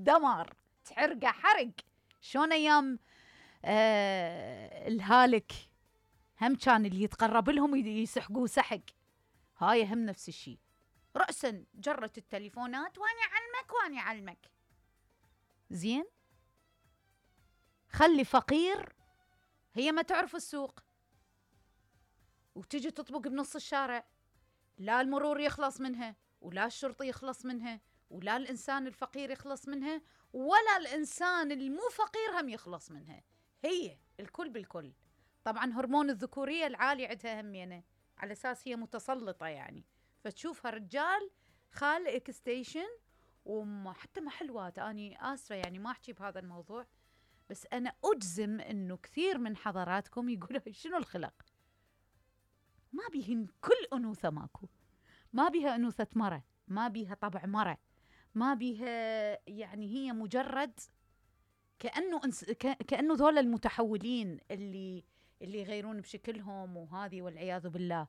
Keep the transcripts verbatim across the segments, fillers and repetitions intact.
دمار، تحرقه حرق. شلون ايام آه الهالك هم كان اللي يتقرب لهم يسحقوه سحق، هاي هم نفس الشيء. رأسا جرت التليفونات واني علمك واني علمك. زين، خلي فقير هي ما تعرف السوق وتجي تطبق بنص الشارع، لا المرور يخلص منها ولا الشرطي يخلص منها ولا الإنسان الفقير يخلص منها ولا الإنسان المو فقير هم يخلص منها، هي الكل بالكل. طبعا هرمون الذكورية العالي عندها همينة على أساس هي متسلطة يعني، فتشوفها رجال خال إكستيشن وحتى محلوات. أني آسفة يعني ما أحكي بهذا الموضوع، بس أنا أجزم أنه كثير من حضراتكم يقولوا شنو الخلق، ما بيهن كل أنوثة ماكو، ما بيها أنوثة مرة، ما بيها طبع مرة، ما بيها يعني هي مجرد كأنه انس... كأنه ذول المتحولين اللي اللي يغيرون بشكلهم وهذه والعياذ بالله.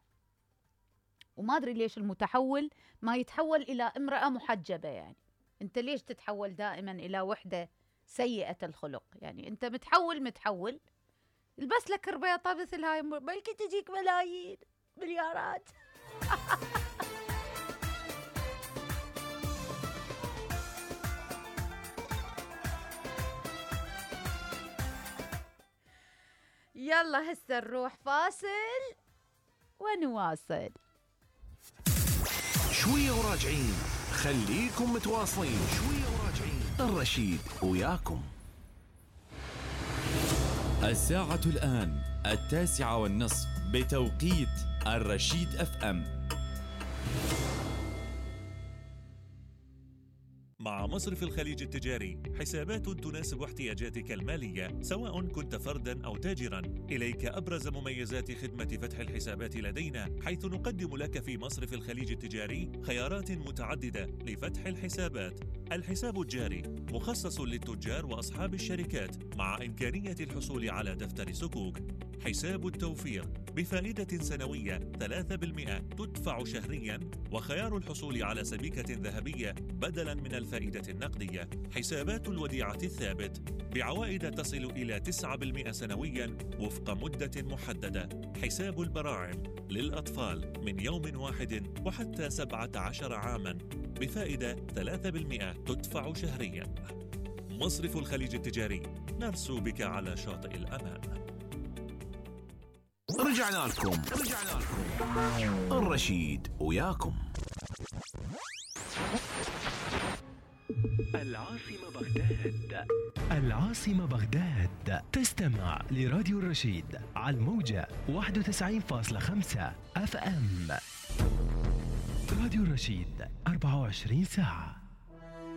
وما أدري ليش المتحول ما يتحول إلى امرأة محجبة، يعني أنت ليش تتحول دائما إلى وحدة سيئة الخلق؟ يعني أنت متحول متحول البس لك ربيطة مثل هاي بلكي تجيك ملايين مليارات. يلا هسه نروح فاصل ونواصل. شوية وراجعين، خليكم متواصلين. شوية وراجعين، الرشيد وياكم. الساعة الآن التاسعة والنصف بتوقيت الرشيد اف ام. مع مصرف الخليج التجاري، حسابات تناسب احتياجاتك المالية سواء كنت فرداً أو تاجراً. إليك أبرز مميزات خدمة فتح الحسابات لدينا، حيث نقدم لك في مصرف الخليج التجاري خيارات متعددة لفتح الحسابات. الحساب الجاري مخصص للتجار وأصحاب الشركات مع إمكانية الحصول على دفتر صكوك. حساب التوفير بفائدة سنوية ثلاثة بالمئة تدفع شهرياً، وخيار الحصول على سبيكة ذهبية بدلاً من الفائدة النقدية. حسابات الوديعة الثابت بعوائد تصل إلى تسعة بالمئة سنوياً وفق مدة محددة. حساب البراعم للأطفال من يوم واحد وحتى سبعة عشر عاماً بفائدة ثلاثة بالمئة تدفع شهرياً. مصرف الخليج التجاري، نرسو بك على شاطئ الأمان. رجعنا لكم رجعنا لكم الرشيد وياكم. العاصمة بغداد. العاصمة بغداد. تستمع لراديو الرشيد على الموجة واحد وتسعين فاصلة خمسة اف ام. راديو الرشيد أربعة وعشرين ساعة.